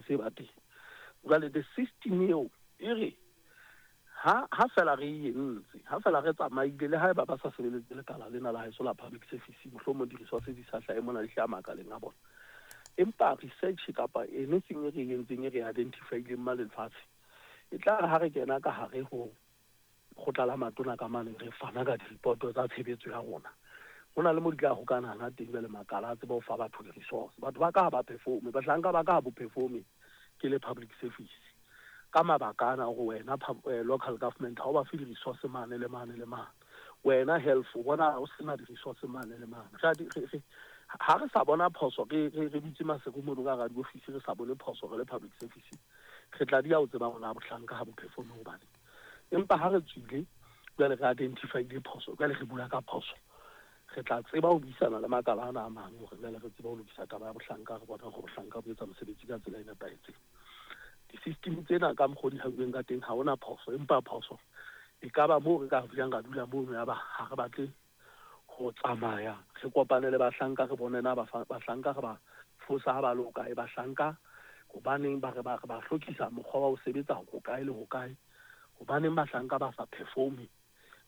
Se ba teng. Jwale the system eo e re ha ha fela re e entse, ha fela re tsamaile, le haeba ba sa sebeletse lekala lena la haeso la public service, mohlomong di-resources di sa hlahe mona, di hlaha makaleng a bona. Empa research kapa anything e re e entseng, e re identify-ileng ma lefatshe, e tla re ha re kena ka hare ho lekgotla la matona ka mane, re fana ka di-report tsa tshebetso ya rona, ho na le mo di tla hokanana teng. Jwale makala a tseba ho fa batho di-resource. Batho ba ka ha ba performe, bahlanka ba ka ha bo performe ke le public service ka mabaka ana, hore wena local government ha o ba fe di-resource mane le mane le mane, wena health o bona o sena di-resource mane le mane. Ha re sa bona phoso, re dutse maseko mono ka hara diofisi, re sa bone phoso re le public service, re tla dia o tseba rona bohlanka ha bo performe hobane. Empa ha re tswile jwale, re identify-ile phoso, jwale re bua ka phoso, re tla tseba ho buisana le makala ana a mang hore jwale re tsebe ho lokisa taba ya bohlanka, re bona hore bohlanka bo etsa mosebetsi ka tsela e nepahetseng. Di-system tsena ka mokgwa o di hauweng ka teng, ha hona phoso, empa phoso e ka ba moo re ka dulang, ra dula mono, ya ba ha re batle ho tsamaya re kopane le bahlanka, re bone na bahlanka re ba fosa ha ba le hokae, bahlanka hobaneng ba re ba hlokisa mokgwa wa ho sebetsa hokae le hokae, hobaneng bahlanka ba sa performe,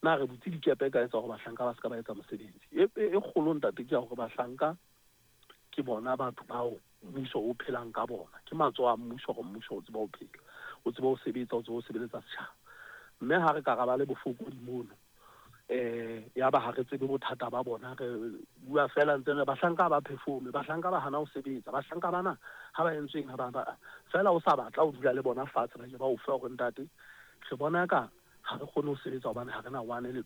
na re butse dikepe ka etsa hore bahlanka ba se ka ba etsa mosebetsi. E kgolo, ntate, ke ya hore bahlanka ke bona batho bao mmuso o phelang ka bona, ke matsoho a mmuso, hore mmuso o tseba ho phela, o tseba ho sebetsa, o tseba ho sebeletsa setjhaba. Mme ha re ka ra ba le bofokodi mono, ya ba ha re tsebe bothata ba bona, re bua fela ntse re bahlanka ba performe, bahlanka ba hana ho sebetsa, bahlanka bana ha ba entsweng, ha ba fela o sa batla ho dula le bona fatshe, ba ke ba o fe hore ntate, re bona ka ha re kgone ho sebetsa hobane ha re na one le